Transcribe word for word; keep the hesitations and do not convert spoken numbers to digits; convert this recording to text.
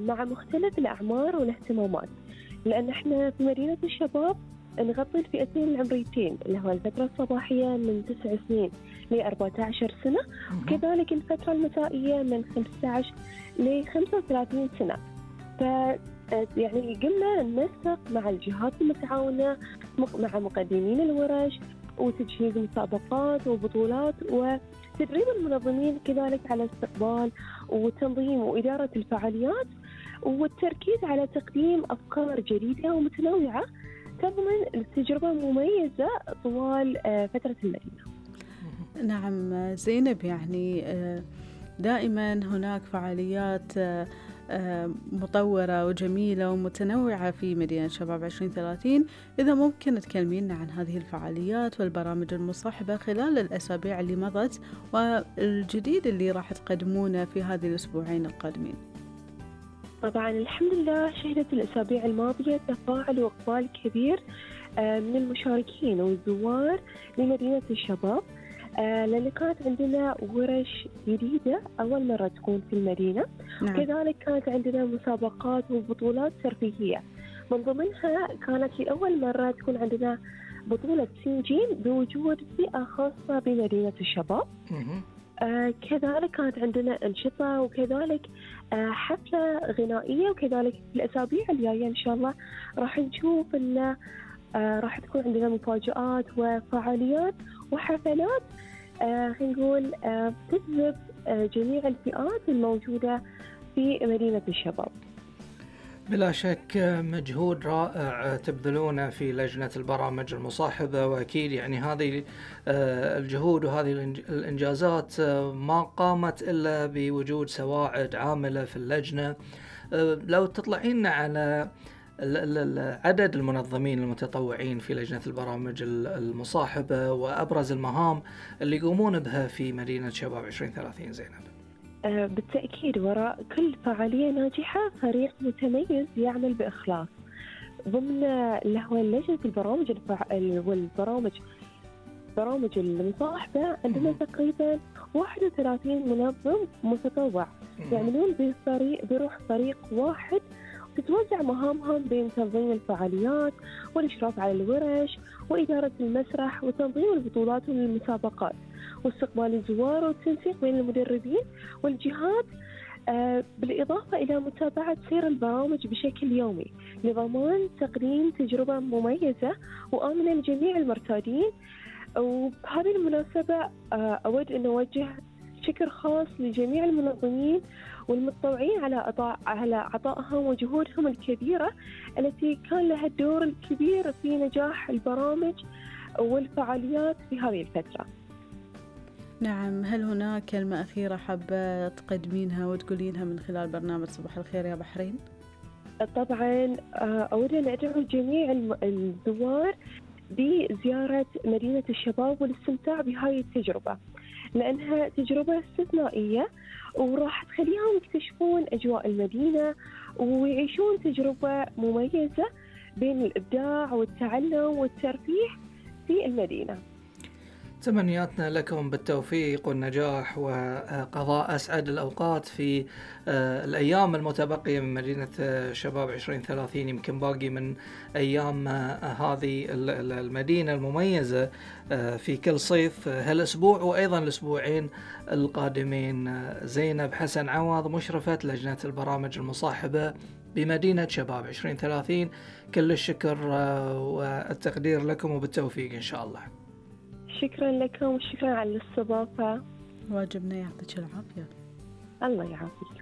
مع مختلف الأعمار والاهتمامات، لأن إحنا في مدينة الشباب نغطي الفئتين العمريتين اللي هو الفترة الصباحية من تسع سنين ل أربعة عشر سنة، وكذلك الفترة المسائية من خمسة عشر ل خمسة وثلاثين سنة. ف يعني قمنا ننسق مع الجهات المتعاونة مع مقدمين الورش وتجهيز مسابقات وبطولات وتدريب المنظمين كذلك على استقبال وتنظيم وإدارة الفعاليات، والتركيز على تقديم أفكار جديدة ومتنوعة تضمن التجربة مميزة طوال فترة المدينة. نعم زينب، يعني دائما هناك فعاليات مطورة وجميلة ومتنوعة في مدينة شباب عشرين ثلاثين. إذا ممكن تكلمينا عن هذه الفعاليات والبرامج المصاحبة خلال الأسابيع اللي مضت والجديد اللي راح تقدمونه في هذه الأسبوعين القادمين. طبعا الحمد لله شهدت الأسابيع الماضية تفاعل وإقبال كبير من المشاركين والزوار لمدينة الشباب، لأن كانت عندنا ورش جديدة أول مرة تكون في المدينة. نعم. كذلك كانت عندنا مسابقات وبطولات ترفيهية، من ضمنها كانت لأول مرة تكون عندنا بطولة سينجين بوجود فئة خاصة بمدينة الشباب. آه كذلك كانت عندنا أنشطة وكذلك آه حفلة غنائية، وكذلك في الأسابيع الجاية إن شاء الله راح نشوف إن آه راح تكون عندنا مفاجآت وفعاليات وحفلات آه خلينا نقول آه تجذب آه جميع الفئات الموجودة في مدينة الشباب. بلا شك مجهود رائع تبذلونه في لجنة البرامج المصاحبة، وأكيد يعني هذه الجهود وهذه الإنجازات ما قامت إلا بوجود سواعد عاملة في اللجنة. لو تطلعين على عدد المنظمين المتطوعين في لجنة البرامج المصاحبة وأبرز المهام اللي يقومون بها في مدينة شباب عشرين ثلاثين زينب. بالتأكيد وراء كل فعالية ناجحة فريق متميز يعمل بإخلاص. ضمن اللي هو لجنة البرامج الفع... والبرامج برامج المصاحبة عندنا تقريبا واحد وثلاثين منظم متطوع يعملون بفريق بروح فريق واحد، تتوزع مهامهم بين تنظيم الفعاليات والإشراف على الورش وإدارة المسرح وتنظيم البطولات والمسابقات واستقبال الزوار والتنسيق بين المدربين والجهات، آه بالإضافة إلى متابعة سير البرامج بشكل يومي لضمان تقديم تجربة مميزة وآمنة لجميع المرتادين. وبهذه المناسبة آه أود أن أوجه شكر خاص لجميع المنظمين والمتطوعين على عطاء على عطائهم وجهودهم الكبيرة التي كان لها الدور الكبير في نجاح البرامج والفعاليات في هذه الفترة. نعم، هل هناك كلمة أخيرة حابة تقدمينها وتقولينها من خلال برنامج صباح الخير يا بحرين؟ طبعا أود أن أدعو جميع الزوار بزيارة مدينة الشباب والاستمتاع بهذه التجربة، لأنها تجربة استثنائية وراح تخليهم يكتشفون أجواء المدينة ويعيشون تجربة مميزة بين الإبداع والتعلم والترفيه في المدينة. تمنياتنا لكم بالتوفيق والنجاح وقضاء أسعد الأوقات في الأيام المتبقية من مدينة شباب عشرين ثلاثين. يمكن باقي من أيام هذه المدينة المميزة في كل صيف هالأسبوع وأيضا الأسبوعين القادمين. زينب حسن عوض مشرفة لجنة البرامج المصاحبة بمدينة شباب عشرين ثلاثين، كل الشكر والتقدير لكم وبالتوفيق إن شاء الله. شكرا لكم وشكرا على الاستضافة. واجبنا، يعطيك العافية. الله يعافيك.